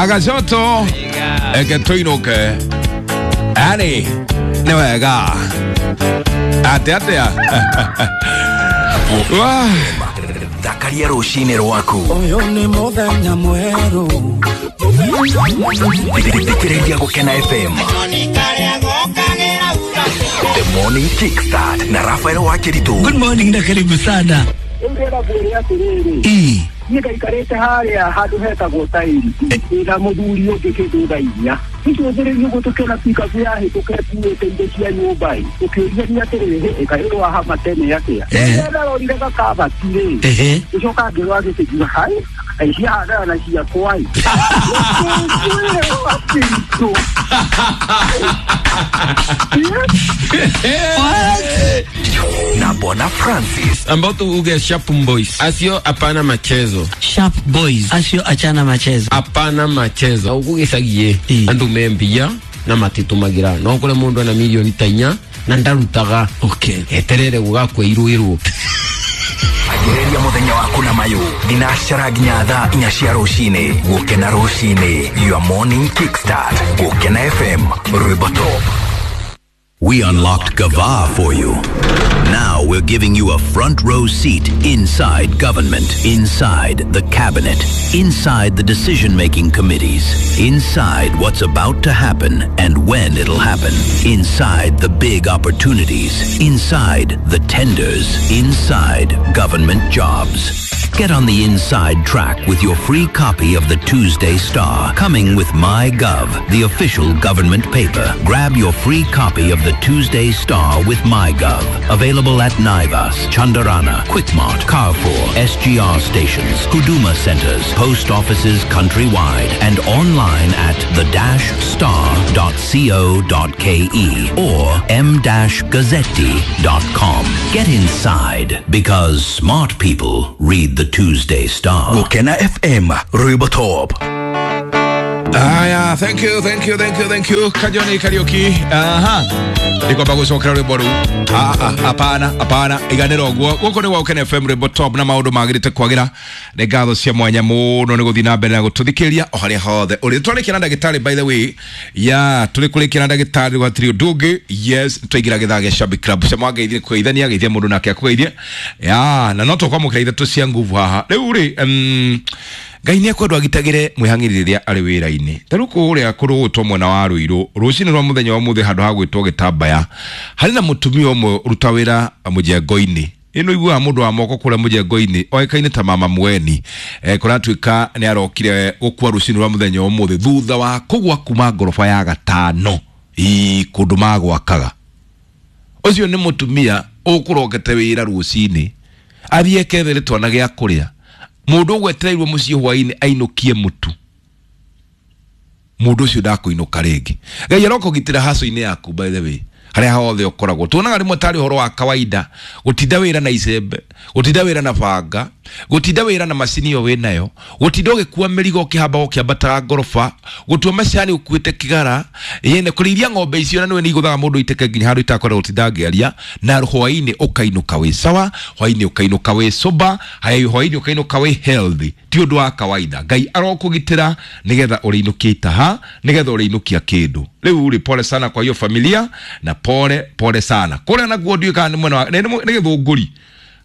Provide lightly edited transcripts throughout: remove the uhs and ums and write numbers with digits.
Agacoto eke tũinũke. Yani nĩ wega atĩa atĩa. Wah. Thakaria rũcinĩ rwaku. Ũyũ nĩ mũthenya mwerũ. Thikĩrĩria Gũkena FM. The Morning Kickstart na Rafael Wakiritu. Good morning na karibu sana. Rĩu ndĩrenda ngwĩre atĩrĩrĩ, niĩ ngaikarĩte harĩa handũ hetagwo tairi na mũthuri ũngĩ kĩndũ thaa 4 tũcũthĩrĩrie ũguo tũkĩona pikabu yahĩtũka ĩkuĩte indo cia nyũmba ĩ, tũkĩũria atĩrĩrĩ, ĩ kaĩ ũyũ wahama tene atĩa? Rĩrĩa ndarorire gakabati rĩ, gĩcoka ngĩrora gĩkĩngiuga hai, kaĩ ciahandana na ciakwa ĩ. Ngwĩre Wakiritu. Na Bwana Francis. Ambao tuuge Sharp Boys. Asio hapana machezo. Sharp Boys acio achana machezo. Hapana machezo. Ugugicagie andu membia na matitumagira. No kure mundu ana milioni ta 4 na ndarutaga. Okay. Eterere gugakweirwo. Anjĩrĩria mũthenya waku na mayũ thinacara nginya thaa 4 cia rũcinĩ. Gũkena rũcinĩ, your morning kickstart. Gũkena FM, rwĩmbo top. We unlocked Gava for you. Now we're giving you a front row seat inside government, inside the cabinet, inside the decision-making committees, inside what's about to happen and when it'll happen, inside the big opportunities, inside the tenders, inside government jobs. Get on the inside track with your free copy of the Tuesday Star, coming with MyGov, the official government paper. Grab your free copy of the Tuesday Star with MyGov. Available at Naivas, Chandarana, Quickmart, Carrefour, SGR stations, Huduma centers, post offices countrywide, and online at the-star.co.ke or m-gazzetti.com. Get inside because smart people read the Tuesday Star. Gũkena FM, rwĩmbo top. Aya, thank you, thank you, thank you, thank you. Kajoni Kariuki. Aha. Ndikwamba gucokera rwimbo rũu. Ah, ah, hapana, hapana, iganĩra ũguo. Gũkũ nĩ gwa Gũkena FM rwimbo top na maũndũ magĩrĩte kwagĩra. Nĩ ngatho cia mwanya mũno nĩ gũthiĩ na mbere na gũtũthikĩrĩria o harĩa hothe ũrĩ. Twarĩkia na ndagĩtarĩ, by the way. Ya, tũrĩ kũrĩkia na ndagĩtarĩ gwatirĩ ũndũ ũngĩ. Yes, twaingĩra gĩthaa gĩa Shabik Club. Cema wangeithie kũgeithania, geithia mũndũ nake akũgeithie. Ya, na no tũkwamũkĩra ithatũ cia nguvu haha. Rĩu rĩ, Ngai nĩ ekwendwo agitagĩre mwĩhang'ĩri rĩrĩa arĩ wĩra-inĩ. Ta rĩu kũrĩa kũrũgũtwo mwena wa Ruiru, rũcinĩ rwa mũthenya wa ũmũthĩ handũ ha gwĩtwo gĩtambaya, harĩ na mũtumia ũmwe ũruta wĩra mũjengo-inĩ. Ĩno iguaga mũndũ wa moko kũrĩa mũjengo-inĩ oĩkaine ta mama Mweni. Kũratuĩka nĩ arokire gũkua rũcinĩ rwa mũthenya wa ũmũthĩ thutha wa kũgwa kuma ngoroba ya 5 ii kũndũ magwakaga. Ũcio nĩ mũtumia ũkũrokete wĩra rũcinĩ athiĩ ekethere twana gĩa kũrĩa. Mũndũ ũgwetereirwo mũciĩ hwaĩ-inĩ ainũkie mũtu, mũndũ ũcio ndakũinũka rĩngĩ. Ngai arokũgitĩra haco-inĩ yaku, by the way, harĩa hothe ũkoragwo. Tuonaga rĩmwe tarĩ ũhoro wa kawaida gũtinda wĩra na icembe, gũtinda wĩra na banga, gũtinda wĩra na macini ĩyo wĩnayo, gũtinda ũgĩkua mĩrigo ũkĩhamba ũkĩambataga ngoroba, gũtua macani ũkuĩte kĩgara, yene kũrĩithia ng'ombe icio na nĩwe nĩ igũthaga mũndũ iteke nginya handũ itakwenda gũtinda ngĩaria, na hwaĩ-inĩ ũkainũka wĩ sawa, hwaĩ-inĩ ũkainũka wĩ sober, hwaĩ-inĩ ũkainũka wĩ healthy. Ti ũndũ wa kawaida. Ngai arokũgitĩra nĩgetha ũrĩinũkia itaha, nĩgetha ũrĩinũkia kĩndũ. Rĩu rĩ, pole sana kwa hiyo familia na pole pole sana kũrĩa nakuo. Ndiũĩ kana nĩ mwena wa nĩ Gĩthũngũri,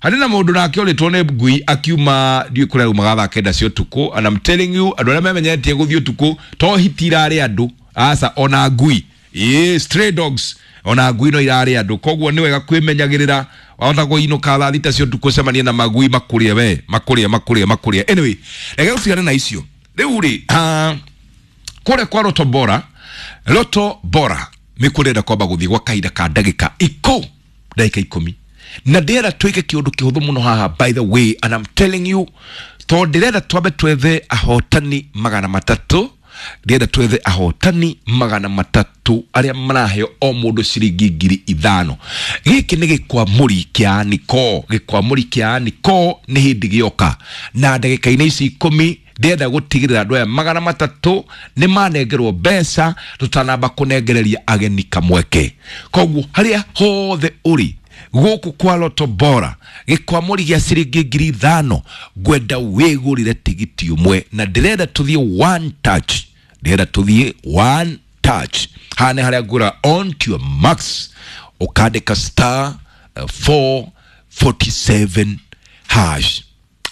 harĩ na mũndũ nake ũrĩtwo nĩ ngui akiuma, ndiũĩ kũrĩa aumaga thaa 9 cia ũtukũ. And I'm telling you, andũ arĩa memenyeretie gũthiĩ ũtukũ to hiti irarĩ andũ aca, ona ngui, ĩĩ, stray dogs, ona ngui no irarĩ andũ. Koguo nĩ wega kwĩmenyagĩrĩra, wahota kũinũka thaa 6 cia ũtukũ ũcemanie na magui makũrĩe we, makũrĩe makũrĩe makũrĩe. Anyway, reke tũtigane na icio. Rĩu rĩ, kũrĩa kwa Loto Bora, Loto Bora nĩ kwamba gũthiĩ gwa kahinda ka ndagĩka 10, na ndĩrenda twĩke kĩũndũ kĩhũthũ mũno haha, by the way, and I'm telling you, tondũ ndĩrenda twambe twethe ahotani 300. Ndĩrenda twethe ahotani 300 arĩa maraheo o mũndũ ciringi 5,000. Gĩkĩ nĩ gĩkwamũri kĩa Aniko. Gĩkwamũri kĩa Aniko nĩ hĩndĩ gĩoka, na ndagĩka-inĩ ici 10 ndĩrenda gũtigĩrĩra andũ aya 300 nĩ manengerwo mbeca tũtanamba kũnengereria ageni kamweke. Koguo harĩa hothe ũrĩ gũkũ kwa Loto Bora, gĩkwamũri gĩa ciringi 5,000, ngwenda wĩgũrĩre tigiti ũmwe, na ndĩrenda tũthiĩ one touch. Ndĩrenda tũthiĩ one touch. Haha nĩ harĩa ngũra on to your max, ũkandĩka star 447 hash.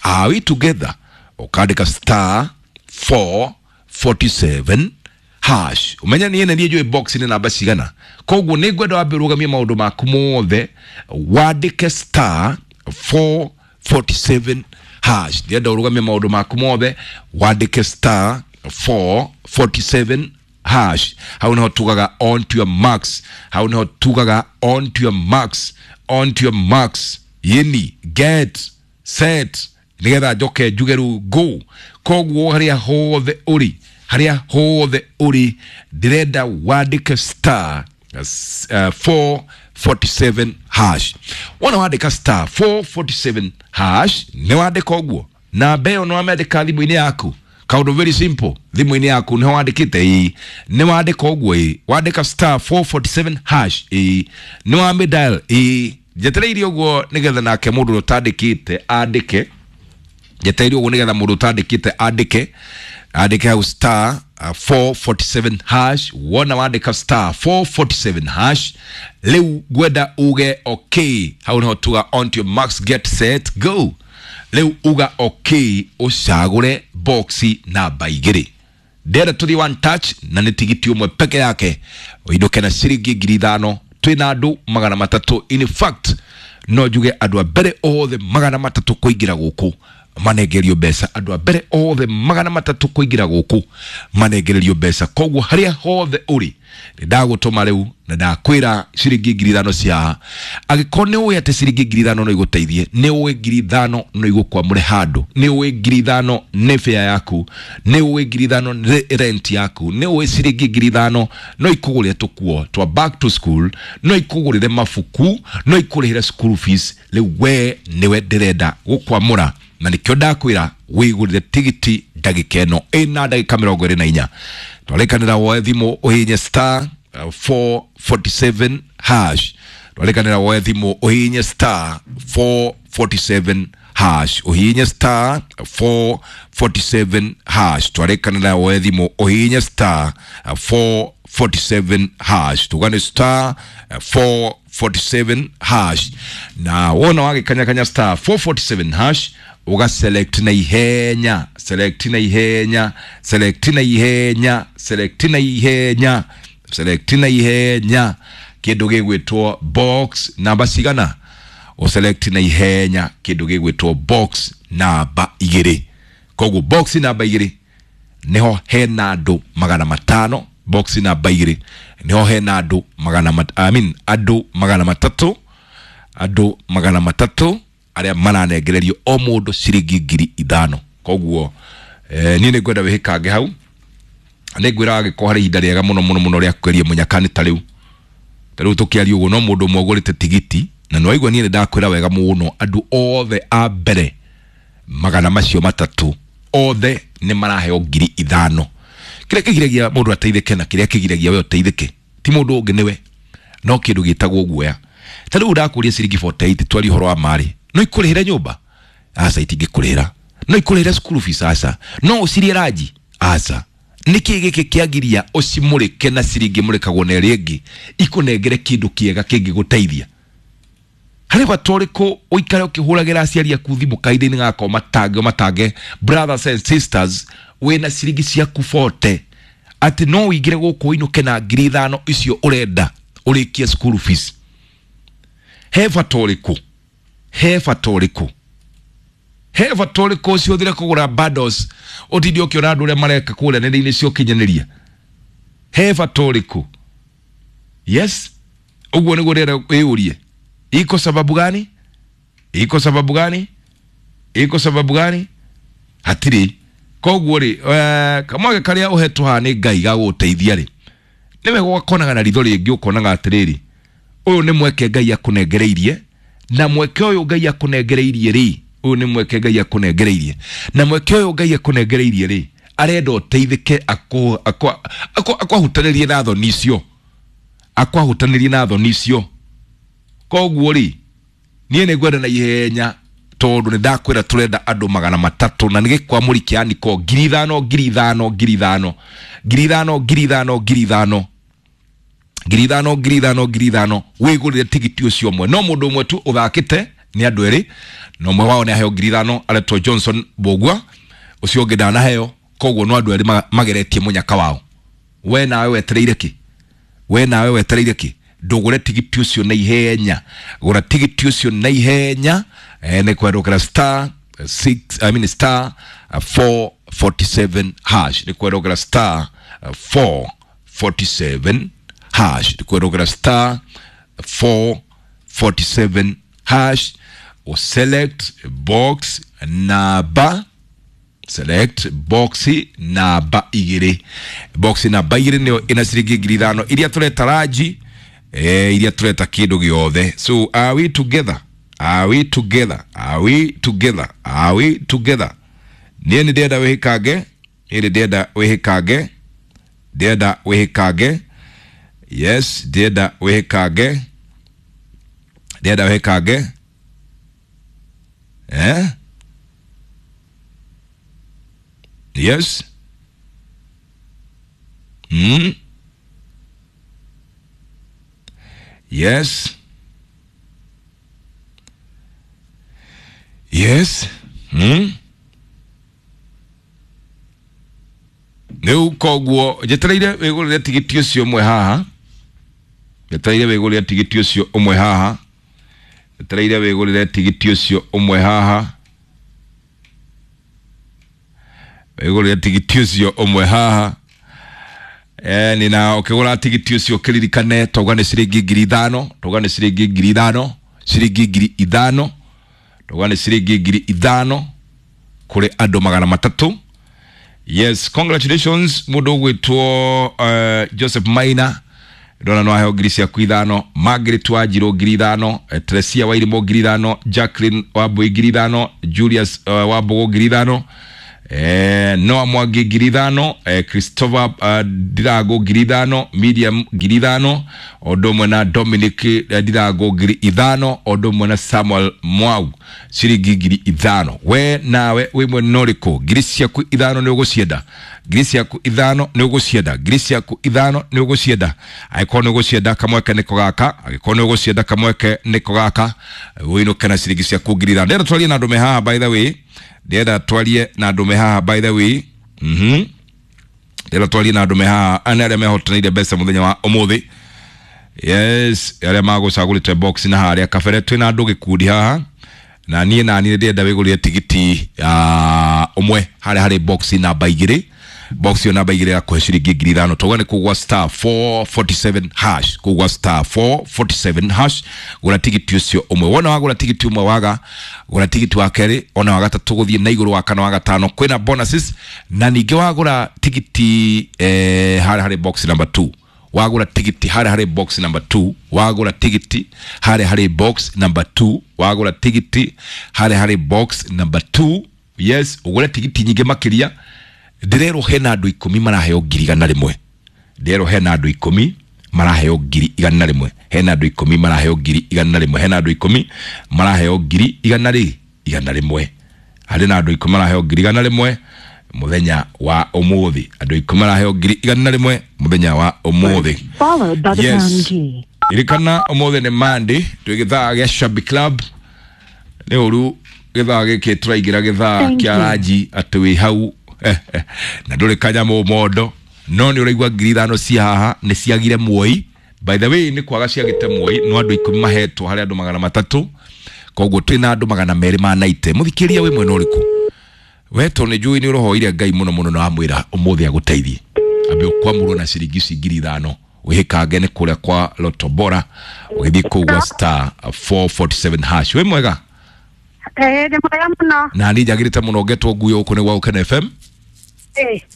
Are we together? Ũkandĩka star 447 hash. Ũmenye niĩ nĩ niĩ njũĩ box nĩ namba cigana, koguo nĩ ngwenda wambe ũrũgamie maũndũ maku mothe, wandĩke star 447 hash. Ndĩrenda ũrũgamie maũndũ maku mothe, wandĩke star 447 hash. Hau niho tugaga on to your marks, hau niho tugaga on to your marks, on to your marks, yini get set, nigetha njoke njuge rĩu go. Koguo harĩa hothe ũrĩ, harĩa hothe ũrĩ, ndĩrenda wandĩke star 447 hash. Wona wandĩka star 447 hash, nĩ wandĩka ũguo namba ĩyo nĩ wamĩandĩka thimũ-inĩ yaku. Kaũndũ very simple, thimũ-inĩ yaku nĩho wandĩkĩte, ĩĩ nĩ wandĩka ũguo, ĩĩ wandĩka star 447 hash, ĩĩ nĩ wamĩdial, ĩĩ njetereire ũguo nĩgetha nake mũndũ ũrĩa ũtandĩkĩte andĩke. Njetereire ũguo nĩgetha mũndũ ũtandĩkĩte andĩke, andĩke hau star 447 hash. Wona wandĩka star 447 hash, rĩu ngwenda uge okay. Hau niho tuga on to your max, get set, go. Rĩu uga okay, ũcagũre boxi namba 2. Ndĩrenda tũthiĩ one touch na nĩ tigiti ũmwe peke yake, ũinũke na ciringi 5,000. Twĩna andũ 300. In fact no njuge andũ a mbere othe 300 kũingĩra gũkũ manengererio mbeca, andũ a mbere othe 300 kũingĩra gũkũ manengererio mbeca. Koguo harĩa hothe ũrĩ, nĩ ndagũtũma rĩu na ndakwĩra ciringi 5,000 cia, angĩkorwo nĩ ũĩ atĩ ciringi 5,000 no igũteithie, nĩ ũĩ 5,000 no igũkwamũre handũ, nĩ ũĩ 5,000 nĩ fare yaku, nĩ ũĩ 5,000 nĩ rent yaku, nĩ ũĩ ciringi 5,000 no ikũgũrĩre tũkuo twa back to school, no ikũgũrĩre mabuku, no ikũrĩhĩre school fees, rĩu we nĩwe ndĩrenda gũkwamũra na nĩkĩo ndakwĩra wĩgũrĩre tigiti ndagĩka ĩno ĩna ndagĩka 24. Twarĩkanĩra woe thimũ ũhihinye star 447 hash. Twarĩkanĩra woe thimũ ũhihinye star 447 hash, ũhihinye star 447 hash. Twarĩkanĩra woe thimũ ũhihinye star 447 hash, tugane star 447 hash. Na wona wagĩkanyakanya star 447 hash, uga select na ihenya, select na ihenya, select na ihenya, select na ihenya, select na ihenya kĩndũ gĩgwĩtwo box namba cigana, ũselect na ihenya kĩndũ gĩgwĩtwo box namba 2. Koguo box namba 2 niho hena andũ 500. Box namba 2 niho hena andũ andũ 300, andũ 300 arĩa maranengererio o mũndũ ciringi 5,000. Koguo niĩ nĩ ngwenda wĩhĩkange hau, nĩ ngwĩra agĩkorwo harĩ ihinda rĩega mũno mũno mũno rĩa kũgeria mũnyakani. Ta rĩu, ta rĩu tũkĩaria ũguo no mũndũ ũmwe ũgũrĩte tigiti, na nĩ waigua niĩ nĩ ndakwĩra wega mũno, andũ othe a mbere 300 othe nĩ maraheo 5,000. Kĩrĩa kĩgiragia mũndũ ateithĩke na kĩrĩa kĩgiragia we ũteithĩke ti mũndũ ũngĩ nĩwe, no kĩndũ gĩtagwo guoya. Ta rĩu ndakũria ciringi 48 twarie ũhoro wa marĩ, no ikũrĩhĩre nyũmba? Aca, itingĩkũrĩhĩra. No ikũrĩhĩre school fees? Aca. No ũcirie ranji? Aca. Nĩkĩ gĩkĩ kĩagiria ũcimũrĩke na ciringi mũrĩkagwo na ĩrĩa ĩngĩ ikũnengere kĩndũ kĩega kĩngĩgũteithia? Harĩ bata ũrĩkũ ũikare ũkĩhũragĩra aciari aku thimũ kahinda-inĩ gaka, ũmatange ũmatange, brothers and sisters, wĩna ciringi ciaku 40 atĩ no ũingĩre gũkũ ũinũke na 5,000 icio ũrenda ũrĩkie school fees? He bata ũrĩkũ? He bata ũrĩkũ? He bata ũrĩkũ ũcihũthĩre kũgũra bundles, ũtinde ũkĩona andũ ũrĩa mareka kũrĩa nenda-inĩ cia ũkinyanĩria? He bata ũrĩkũ? Yes, ũguo nĩguo ndĩrenda wĩyũrie. Iko sababu gani? Iko sababu gani? Iko sababu gani? Hatirĩ. Koguo rĩ, kamweke karĩa ũhetwo haha nĩ Ngai ga gũgũteithia rĩ, nĩ wega ũgakonaga na ritho rĩngĩ, ũkonaga atĩrĩrĩ, ũyũ nĩ mweke Ngai akũnengereirie, na mweke ũyũ Ngai akũnengereirie rĩ, ũyũ nĩ mweke Ngai akũnengereirie, na mweke ũyũ Ngai akũnengereirie rĩ, arenda ũteithĩke, akwahutanĩrie na thoni icio, akwahutanĩrie na thoni icio. Koguo rĩ, niĩ nĩ ngwenda na ihenya Tondu ni ndakwira turenda andu 300 na nĩ gĩkwamũri kĩa niko 5,000 5,000 5,000 5,000 5,000 5,000 5,000 5,000 5,000 wĩgũrĩre tigiti ũcio ũmwe. No mũndũ ũmwe tu ũthakĩte nĩ andũ erĩ, na ũmwe wao nĩ aheo 5,000 aretwo Johnson Mbũgua, ũcio ũngĩ ndanaheo. Koguo no andũ erĩ mageretie mũnyaka wao. We nawe wetereire kĩ? We nawe wetereire kĩ? Ndũgũre tigiti ũcio na ihenya, gũra tigiti ũcio na ihenya. Nĩ kwendũkĩra star 6 I mean star 447 hash, nĩ kwendũkĩra star 447 hash, nĩ kwendũkĩra star 447 hash, o select box namba, select box namba 2, box namba 2 nĩyo ĩna ciringi 5,000 iria tũreta ranji, iria tũreta kĩndũ gĩothe. So are we together? Are we together? Are we together? Are we together? Niĩ nĩ ndĩrenda wĩhĩkange, niĩ nĩ ndĩrenda wĩhĩkange, ndĩrenda wĩhĩkange. Yes, ndĩrenda wĩhĩkange, ndĩrenda wĩhĩkange. Eh? Yes. Yes. Yes. Rĩu koguo njetereire wĩgũrĩre tigiti ũcio ũmwe haha, njetereire wĩgũrĩre tigiti ũcio ũmwe haha, njetereire wĩgũrĩre tigiti ũcio ũmwe haha, wĩgũrĩre tigiti ũcio ũmwe haha. Ni na ũkĩgũra tigiti ũcio ũkĩririkane tauga nĩ ciringi 5,000, tauga nĩ ciringi 5,000, ciringi 5,000, tauga nĩ ciringi 5,000 kũrĩ andũ 300. Yes, congratulations mũndũ ũgwĩtwo Joseph Maina, ndona no aheo 5,000, Margaret Wanjirũ 5,000, Teresia Wairimũ 5,000, Jacqueline Wambui 5,000, Julius Wambũgũ 5,000, Noah Mwangi 5,000, Christopher Ndirago 5,000, Miriam 5,000, ũndũ ũmwe na Dominic Ndirago 5,000, ũndũ ũmwe na Samuel Mwau ciringi 5,000. We nawe wĩ mwena ũrĩkũ? 5,000 nĩ ũgũcienda, 5,000 nĩ ũgũcienda, 5,000 nĩ ũgũcienda. Angĩkorwo nĩ ũgũcienda kamweke nĩko gaka, angĩkorwo nĩ ũgũcienda kamweke nĩko gaka, wĩinũke na ciringi ciaku 5,000. Ndĩrenda twarie na andũ me haha, by the way, ndĩrenda twarie na andũ me haha, by the way. Ndĩrenda twarie na andũ me haha, ana arĩa mehotanĩire mbeca mũthenya wa ũmũthĩ. Yes, arĩa magũcagũrĩte box na harĩa kabere twĩna andũ gĩkundi haha, na niĩ ndĩrenda wĩgũrĩre tigiti ũmwe harĩa harĩ box namba 2, box yo namba 2 ya kũhe ciringi 5,000. Tauga nĩ kũgwa star 447 hash, kũgwa star 447 hash, gũra tigiti ũcio ũmwe. Wona wagũra tigiti ũmwe waga, gũra tigiti wa kerĩ, ona wa gatatũ gũthiĩ na igũrũ, wa kana, wa gatano, kwĩna bonuses. Na ningĩ wagũra tigiti harĩa harĩ box number 2, wagũra tigiti harĩa harĩ box number 2, wagũra tigiti harĩa harĩ box number 2, wagũra tigiti harĩa harĩ box number 2. Yes, ũgũre tigiti nyingĩ makĩria. Ndĩrerwo hena andũ 10 maraheo 100,000, ndĩrerwo hena andũ 10 maraheo 100,000, hena andũ 10 maraheo 100,000, hena andũ 10 maraheo 100,000, harĩ na andũ 10 maraheo 100,000 mũthenya wa ũmũthĩ, andũ 10 maraheo 100,000 mũthenya wa ũmũthĩ. Yes, ririkana ũmũthĩ nĩ Monday, twĩ gĩthaa gĩa Shabby Club. Nĩ ũru gĩthaa gĩkĩ tũraingĩra gĩthaa kĩa ranji atĩ wĩ hau na ndũrĩ kanyamũ mondo, no nĩ ũraigua 5,000 cia haha nĩ ciagire muoi. By the way, nĩ kwaga ciagĩte muoi, no andũ 10 mahetwo harĩ andũ 300, koguo twĩna andũ 290. Mũthikĩria wĩ mwena ũrĩkũ? We tondũ nĩ njũĩ nĩ ũrohoire Ngai mũno mũno na wamwĩra ũmũthĩ agũteithie, ambe ũkwamũrwo na ciringi ici 5,000 wĩhĩkange nĩ kũrĩa kwa Lotto Bora, ũgĩthiĩ kũu gwa star 447 hash. Wĩ mwega? Nĩ mwega mũno. Na niĩ njagĩrĩte mũno ngetwo nguo gũkũ nĩ gwa Gũkena FM.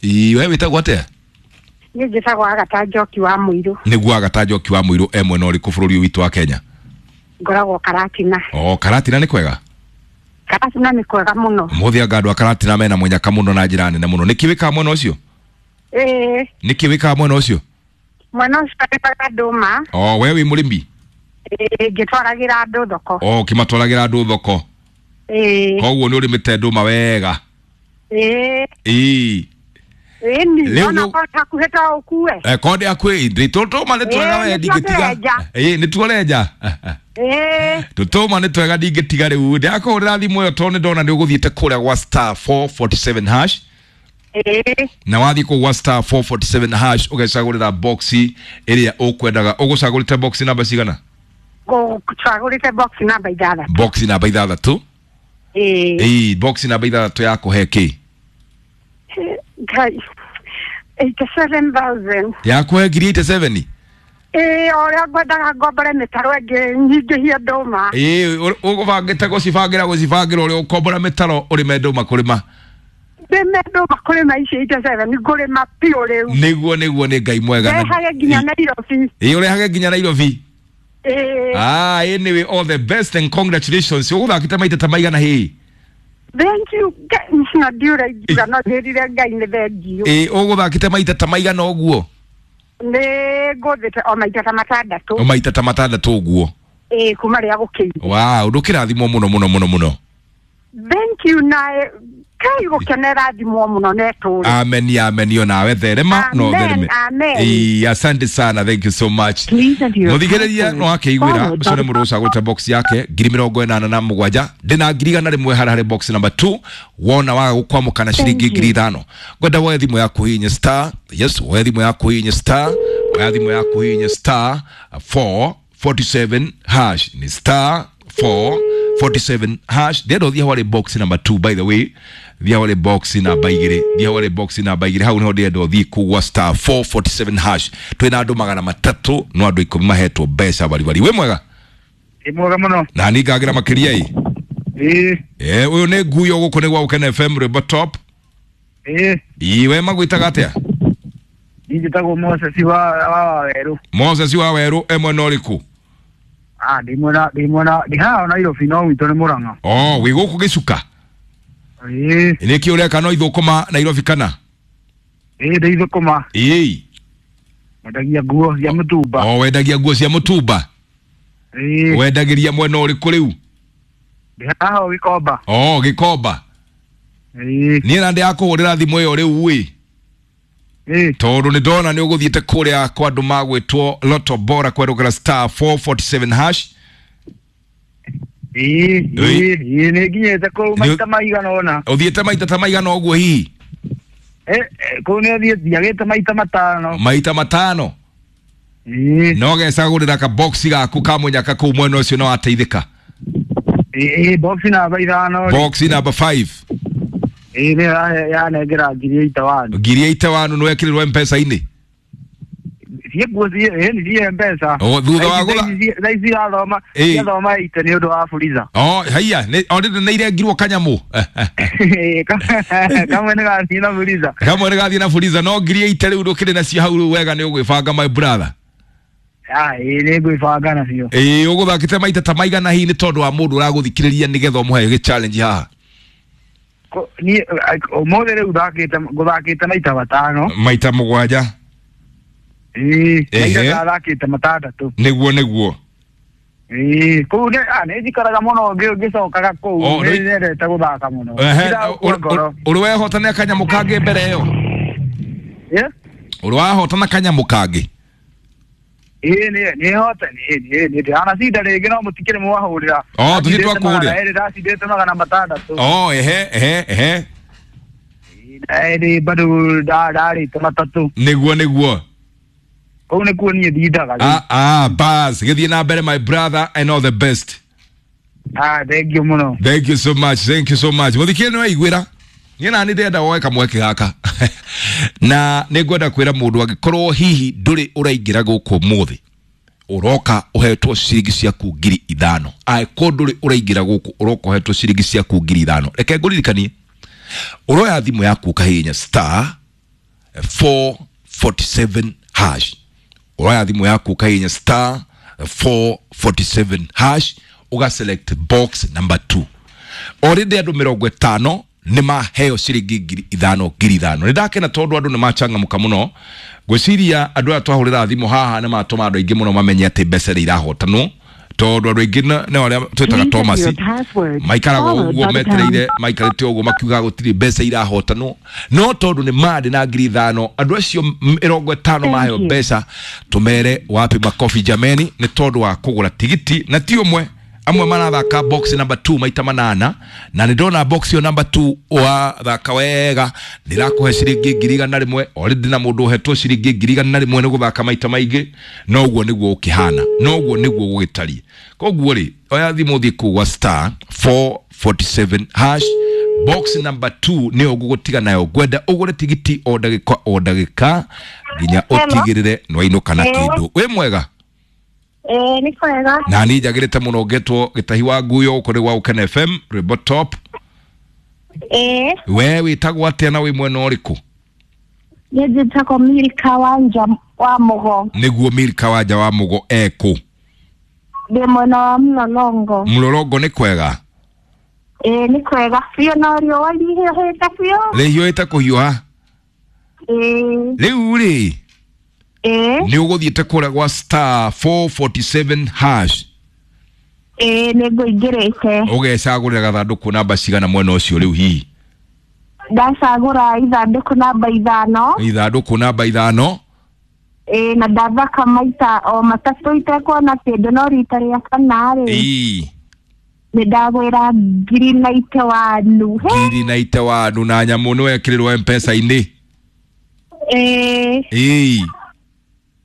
Ĩ, we wĩtagwo atĩa? Niĩ njĩtagwo Agata Njoki wa Mũirũ. Nĩguo Agata Njoki wa Mũirũ e mwena ũrĩkũ bũrũri ũyũ witũ wa Kenya? Ngoragwo Karatina. O Karatina nĩ kwega? Karatina nĩ kwega mũno. Mũthĩ anga andũ a Karatina mena mũnyaka mũno na njĩra nene mũno. Nĩkĩ wĩkaga mwena ũcio? Ĩĩ. Nĩkĩ wĩkaga mwena ũcio? Mwena ũcio nĩmaga ndũma. O we wĩ mũrĩmi? Ĩĩ, ngĩtwaragĩra andũ thoko. O ũkĩmatwaragĩra andũ thoko. Ĩĩ. Koguo nĩ ũrĩmĩte ndũma wega. Ĩĩ. Ĩĩ. Ĩni. Rĩu Ona ko hakuhĩ to ũkue. Konde hakuhĩ ndĩ tũtũma nĩ twega Ĩĩ, we nĩtuo ndingĩtiga. tũrenja. Ĩĩ nĩtuo ũrenja. Ĩĩ. Tũtũma nĩ twega ndingĩtiga rĩu. Ndĩrakũhũrĩra thimũ ĩyo tondũ nĩ ndona nĩ ũgũthiĩte kũrĩa gwa star 447 hash. Ĩĩ. Na wathiĩ kũu gwa star 447 hash ũgecagũrĩra boxi ĩrĩa ũkwendaga. Ũgũcagũrĩte boxi namba cigana? Ngũcagũrĩte box namba 6. Boxi namba 6. Ĩĩ. Ĩĩ, boxi namba 6 yakũhe kĩ? Ngai. 87,000. Yakũhe ngiri 87? Ĩĩ, o ũrĩa ngwendaga ngombore mĩtaro ĩngĩ nyingĩhie ndũma. Ĩĩ, ũgũbangĩte gũcibangĩra ũrĩa ũkombora mĩtaro ũrĩme ndũma kũrĩma. Ndĩme ndũma kũrĩma ici 87 ngũrĩma biũ rĩu. Nĩguo nĩguo nĩ Ngai mwega. Ndehage nginya Nairobi. Ĩĩ, ũrehage nginya Nairobi. Ĩĩ. Ah, anyway, all the best and congratulations. Ũgũthakĩte maita ta maigana hĩ? Thank you. Ngai na ndiũra ingiuga no njĩrire Ngai nĩ thengiũ. Ĩĩ, ũgũthakĩte maita ta maigana ũguo? Nĩ ngũthĩte o maita ta 6. O maita ta 6 ũguo. Ĩĩ, kuma rĩrĩa gũkĩire. Wow, ndũkĩrathimwo mũno mũno mũno mũno. Thank you na Ngai gũkenera thimwo mũno na ĩtũũre. Amen, amen, yo nawe therema no Amen, thereme. amen. Ĩĩ, asante sana, thank you so much. Mũthikĩrĩria no akeiguĩra ũcio nĩ mũndũ ũcagũrĩte box yake 87,000 ndĩna 100,000 harĩa harĩ box number 2 wona waga gũkwamũka na ciringi 5,000 ngwenda woe thimũ yaku hihinye star, yes, woe thimũ yaku hihinye star, woe thimũ yaku hihinye star 447 hash, ni star 447 hash. Ndĩrenda ũthiĩ hau harĩ box number 2, by the way, thiĩ hau harĩ box namba 2, thiĩ hau harĩ box namba 2, hau niho ndĩrenda ũthiĩ kũgwa star 447 hash. Twĩna andũ 300 no andũ 10 mahetwo mbeca baribari. Wĩ mwega? Ĩ mwega mũno. Na niĩ ngagĩra makĩria ĩ. Ĩĩ. Eh, ũyũ nĩ nguyo gũkũ nĩ gwa Gũkena FM Rwĩmbo Top. Ĩĩ. Ĩ, we magwĩtaga atĩa? Niĩ njĩtagwo Moses wa Wawerũ. Moses wa Werũ e mwena ũrĩkũ? Ah, ndĩ mwena ndĩ haha Nairobi no gwitũ nĩ Mũrang'a. Oh, wĩ gũkũ gĩcuka? Ĩĩ. Nĩkĩ ũreka no ithũkũma Nairobi kana? Ĩĩ, ndĩ ithũkũma. Ĩĩ. Wendagia nguo cia mũtumba. Oh, wendagia nguo cia mũtumba? Ĩĩ. Wendagĩria mwena ũrĩkũ rĩu? Ndĩ haha o Gĩkomba. Oh, Gĩkomba. Ĩĩ. Niĩ na ndĩrakũhũrĩra thimũ ĩyo rĩu ĩ. Ĩĩ. Tondũ nĩ ndona nĩ ũgũthiĩte kũrĩa kwa andũ magwĩtwo Lotto Bora kwerũkĩra star 447 hash. Ĩĩ, ĩĩ, ĩĩ, nĩ nginyĩte kũu maita maigana ũna. Ũthiĩte maita ta maigana ũguo hihi? Kũu nĩ thiagĩte maita 5. Maita 5. Ĩĩ. No gecagũrĩra ka box gaku ka mũnyaka kũu mwena ũcio no wateithĩka. Ĩĩ, box namba 5. Box namba 5. Ĩĩ, nĩ yanengera 81,000. 81,000 nĩ wekĩrĩrwo M-Pesa-inĩ? Ciĩ nguo ciĩ, nĩ ciĩ M-Pesa. O, thutha wa gũtha- Thaa ici irathoma, Ĩĩ. irathoma ite nĩ ũndũ wa Fuliza. Oh, haiya, nĩ already nĩ irengirwo kanyamũ. Kamwe nĩ gathiĩ na Fuliza. Kamwe nĩ gathiĩ na Fuliza no 80,000 rĩu ndũkĩrĩ nacio hau rĩu wega nĩ ũgwĩbanga my brother. Ah, ĩĩ, nĩ ngwĩbanga nacio. Ĩĩ, ũgũthakĩte maita ta maigana hihi nĩ tondũ wa mũndũ ũragũthikĩrĩria nĩgetha ũmũhe gĩ challenge haha. Niĩ ũmũthĩ rĩu thakĩte ngũthakĩte maita 5. Maita 7. Ĩĩ, Ehe. maita ndathakĩte 6. Nĩguo nĩguo. Ĩĩ, kũu nĩ nĩ njikaraga mũno ngĩcokaga kũu, Oh, nĩ nĩ- nyendete gũthaka mũno. Ehe, Ndiragũkua ngoro. ũrĩ wehotana kanyamũ kangĩ mbere ĩyo? Ĩ? Ũrĩ wahotana kanyamũ kangĩ? Ĩĩ, nĩ hote, nĩ ndĩranacinda rĩngĩ no mũtikĩrĩ mwahũrĩra. Oh, tũthiĩ twakũhũrĩra. Ndacindĩte 600. Oh, ehe, ehe, ehe. Ĩĩ, bado ndarĩte 3. Nĩguo nĩguo. Kũu nĩkuo niĩ ndindaga rĩu. Ah, ah, bas, gĩthiĩ na mbere my brother and all the best. Ah, thank you mũno. Thank you so much, thank you so much. Mũthikĩrĩria nĩ waiguĩra. Niĩ nani ndĩrenda woe kamweke gaka. Na nĩ ngwenda kwĩra mũndũ angĩkorwo hihi ndũrĩ ũraingĩra gũkũ ũmũthĩ, ũroka ũhetwo ciringi ciaku 5,000. Angĩkorwo ndũrĩ ũraingĩra gũkũ ũroka ũhetwo ciringi ciaku 5,000. Reke ngũririkanie, ũroya thimũ yaku ũkahihinya star 447 hash. Ũroya thimũ yaku ũkahihinya star 447 hash, ũga select box number 2. Already andũ 50 nĩ maheo ciringi 5,000 5,000. Nĩ ndakena tondũ andũ nĩ machangamũka mũno. Ngwĩciria andũ aya twahũrĩra thimũ haha nĩ matũma andũ aingĩ mũno mamenye atĩ mbeca nĩ irahotanwo. Tondũ andũ aingĩ nĩ arĩa twĩtaga Thomas maikaraga ũguo metereire, maikarĩte ũguo makiuga gũtirĩ mbeca irahotanwo, no tondũ nĩ mandĩ na 5,000 andũ acio 50 maheo mbeca, tũmere wapi makofi jameni, nĩ tondũ wa kũgũra tigiti. Na ti ũmwe, amwe marathaka box number 2 maita manana, na nĩ ndona box ĩyo number 2 wathaka wega ndĩrakũhe ciringi 100,000. Already na mũndũ ũhetwo ciringi 100,000 nĩ gũthaka maita maingĩ, noguo nĩguo ũkĩhana, noguo nĩguo gũgĩtariĩ. Koguo rĩ, oya thimũ ũthiĩ kũu gwa star 447 hash, box number 2 nĩyo ngũgũtiga nayo. Ngwenda ũgũre tigiti o ndagĩka o ndagĩka nginya ũtigĩrĩre nĩwainũka na kĩndũ. Wĩ mwega? Ĩĩ, nĩ kwega. Na niĩ njagĩrĩte mũno, ngetwo Gĩtahi wa Nguyo, gũkũ nĩ gwa Gũkena FM, rwĩmbo top. Ĩĩ. We wĩtagwo atĩa na wĩ mwena ũrĩkũ? Niĩ njĩtagwo Milka Wanja wa Mũgo. Nĩguo, Milka Wanja wa Mũgo ekũ? Ndĩ mwena wa Mlolongo. Mlolongo nĩ kwega? Ĩĩ, nĩ kwega biũ, no riũa rĩhiũhĩte biũ. Rĩhiũhĩte kũhiũha? Ĩĩ. Rĩu rĩ, Ĩĩ. nĩ ũgũthiĩte kũrĩa gwa star 447 hash? Ĩĩ, nĩ ngũingĩrĩte. Ũgecagũrĩra gathandũkũ namba cigana mwena ũcio rĩu hihi? Ndacagũra ithandũkũ namba 5. Ithandũkũ namba 5. Ĩĩ, na ndathaka maita o matatũ itekuona kĩndũ, no rita rĩa kana rĩ, Ĩĩ. nĩ ndagwĩra 91,000. 91,000 na nyamũ nĩ wekĩrĩrwo mpesa-inĩ? Ĩĩ. Ĩĩ.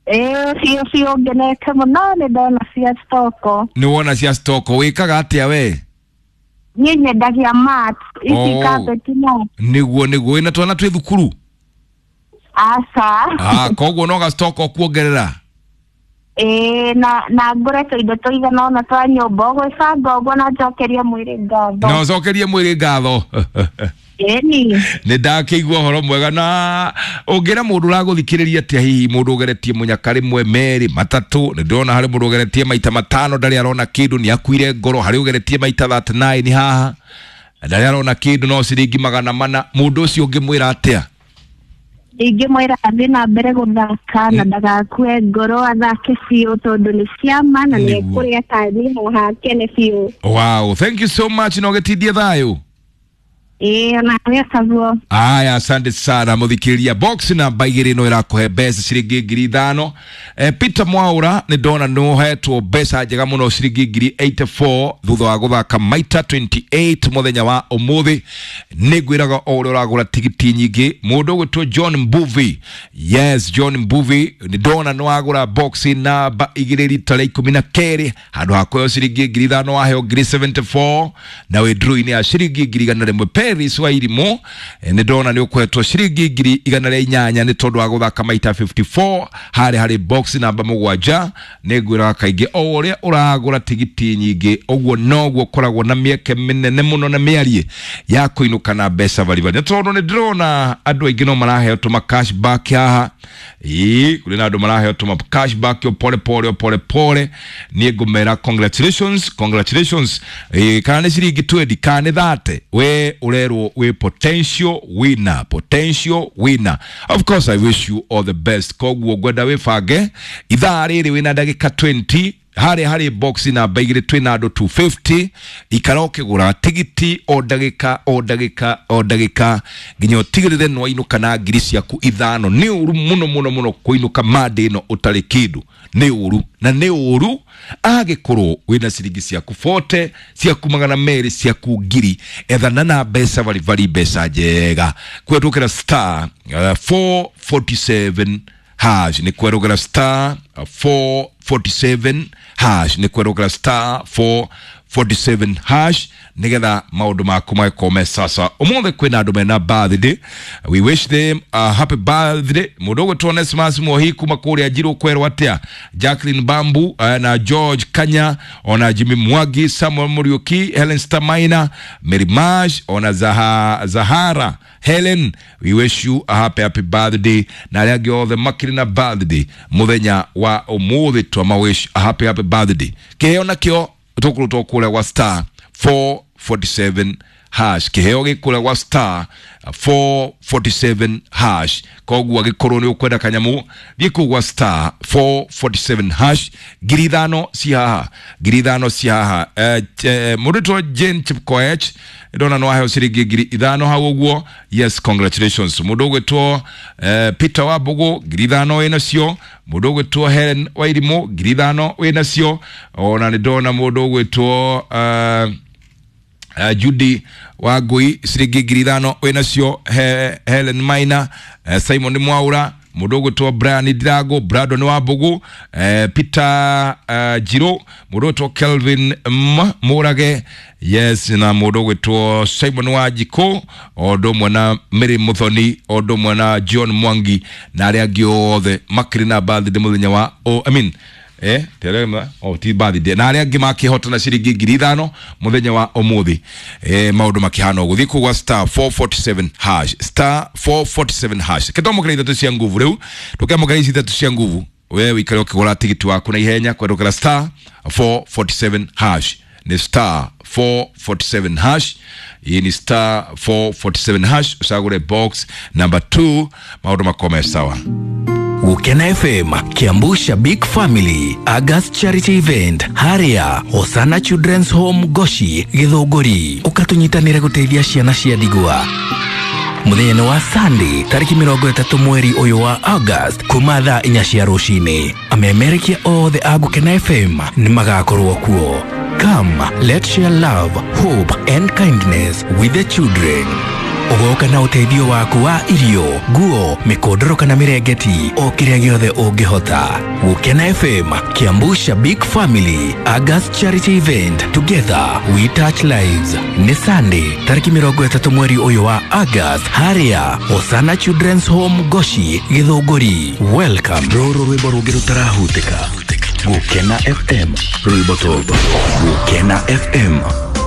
Ĩĩ, biũ biũ, ngenete mũno, nĩ ndona cia stoko. Nĩ wona cia stoko. Wĩkaga atĩa we? Niĩ nyendagia mat ici, carpet mat. Nĩguo nĩguo, wĩna twana twĩ thukuru? Aca. Ah, koguo no gastoko kuongerera. Ĩĩ, na ngũre tũindo tũigana ũna twa nyũmba, ũgwĩbanga ũguo, na njokerie mwĩrĩ ngatho. Na ũcokerie mwĩrĩ ngatho. Ĩni. Nĩ ndakĩigua ũhoro mwega. Na ũngĩra mũndũ ũragũthikĩrĩria atĩa hihi, mũndũ ũgeretie mũnyaka rĩmwe, merĩ, matatũ? Nĩ ndĩrona harĩ mũndũ ũgeretie maita 5 ndarĩ arona kĩndũ, nĩ akuire ngoro. Harĩ ũgeretie maita 39 haha ndarĩ arona kĩndũ, no ciringi 400. Mũndũ ũcio ũngĩmwĩra atĩa? Ingĩmwĩra athiĩ na mbere gũthaka na ndagakue ngoro, athake biũ tondũ nĩ ciama na nĩ ekũrĩa tani haha akene biũ. Wow, thank you so much, na ũgĩtindie thayũ. Ĩĩ, onawe taguo. Aya, asante sana mũthikĩrĩria. Box namba 2 no ĩrakũhe mbeca ciringi 5,000. Peter Mwaura, nĩ ndona nĩ ũhetwo mbeca njega mũno, ciringi 84,000 thutha wa gũthaka maita 28 mũthenya wa ũmũthĩ. Nĩ ngwĩraga o ũrĩa ũragũra tigiti nyingĩ. Mũndũ ũgwĩtwo John Mbuvi, yes, John Mbuvi, nĩ ndona nĩ wagũra box namba 2 rita rĩa 12, handũ ha kũheo ciringi 5,000 waheo 74,000, na wĩ draw-inĩ ya ciringi 100,000. Paris wa Irimũ, nĩ ndona nĩ ũkũhetwo ciringi 108,000 nĩ tondũ wa gũthaka maita 54 harĩ box namba 7. Nĩ ngwĩraga kaingĩ o ũrĩa ũragũra tigiti nyingĩ, ũguo noguo ũkoragwo na mĩeke mĩnene mũno na mĩarie ya kũinũka na mbeca baribari, nĩ tondũ nĩ ndĩrona andũ aingĩ no maraheo tũma cashback haha. Ĩĩ, kũrĩ na andũ maraheo tũma cashback o pole pole, o pole pole. Niĩ ngũmera congratulations, congratulations. Ĩĩ, kana nĩ ciringi 20, kana nĩ 30, we ũrerwo wĩ potential winner, potential winner. Of course I wish you all the best. Koguo ngwenda wĩbange ithaa rĩrĩ wĩna ndagĩka 20 harĩ box namba 2, twĩna andũ 250. Ikara ũkĩgũra tigiti o ndagĩka o ndagĩka o ndagĩka nginya ũtigĩrĩre nĩ wainũka na 5,000 ciaku. Nĩ ũru mũno mũno mũno kũinũka mande ĩno ũtarĩ kĩndũ, nĩ ũru, na nĩ ũru agĩkorwo wĩna ciringi ciaku 40, ciaku 200, ciaku 1,000. Ethana na mbeca baribari, mbeca njega kũhetũkĩra star 447 hash. Nĩ kwerũgĩra star 447 hash, nĩ kwerũgĩra star 447 hash nigetha maũndũ maku magĩkorwo me sasa. Ũmũthĩ kwĩna andũ mena birthday, we wish them a happy birthday. Mũndũ ũgwĩtwo Onesmus Mohi kuma kũrĩa Njirũ, kwerwo atĩa? Jacqueline Bambu, na George Kanya, ona Jimmy Mwangi, Samuel Muriuki, Helen Stamaina, Mary Mash, ona Zahara Helen, we wish you a happy happy birthday. Na arĩa angĩ othe makĩrĩ na birthday mũthenya wa ũmũthĩ, twama wish a happy happy birthday. Kĩheo nakĩo tũkũrutwo kũrĩa gwa star 447 hash. Kĩheo gĩkũrĩa gwa star 447 hash. Koguo angĩkorwo nĩ ũkwenda kanyamũ, thiĩ kũu gwa star 447 hash. 5,000 ci haha, 5,000 ci haha. Mũndũ wĩtwo Jane Chepkoech, ndona no aheo ciringi 5,000 hau ũguo. Yes, congratulations. Mũndũ ũgwĩtwo Peter Wambugu, 5,000 wĩ nacio. Mũndũ ũgwĩtwo Helen Wairimũ, 5,000 wĩ nacio. Ona nĩ ndona mũndũ ũgwĩtwo Judy Wangui, ciringi 5,000 wĩ nacio. Helen Maina, Simon Mwaura, mũndũ ũgwĩtwo Brian Ndirango, Brandon Wambugu, Peter Jiro, mũndũ ũgwĩtwo Kelvin M Mũrage, yes, na mũndũ ũgwĩtwo Simon Wanjikũ, o ũndũ ũmwe na Mary Muthoni, o ũndũ ũmwe na John Mwangi na arĩa angĩ othe makĩrĩ na birthday mũthenya wa, oh, I mean, oh, ti birthday, na arĩa angĩ makĩhotana ciringi 5,000 mũthenya wa ũmũthĩ. Maũndũ makĩhana ũguo. Thiĩ kũu gwa star 447 hash, star 447 hash. Kĩtwamũkĩra ithatũ cia nguvu rĩu, tũkĩamũkĩra ici ithatũ cia nguvu, we wĩikare ũkĩgũra tigiti waku na ihenya kwendũkĩra star 447 hash. Ni star 447 hash. Hii ni star 447 hash, ucagũre box number 2, maũndũ makome sawa. Gukena FM, Kiambu Shabik Family, August Charity Event, Haria, Hosana Children's Home Goshi, Githũngũri. Ũkatunyitanĩre gũteithia ciana cia ndigwa. Mũthenya wa Sunday tarĩki 30 mweri ũyũ wa August kuma thaa 4 cia rũcinĩ. Amemerekia othe a Gukena FM nĩ magakorwo kuo. Come, let's share love, hope and kindness with the children. Ũgoka na ũteithio waku wa irio, nguo, mĩkondoro kana mĩrengeti, o kĩrĩa gĩothe ũngĩhota. Gũkena FM, Kiambu Shabik Family, August Charity Event, together we touch lives. Nĩ Sunday tarĩki 30 mweri ũyũ wa August, harĩa Hosana Children's Home Goshi, Githũngũri. Welcome. Rũrũ rwĩmbo rũngĩ rũtarahutĩka. Gũkena FM, rwĩmbo top. Gũkena FM.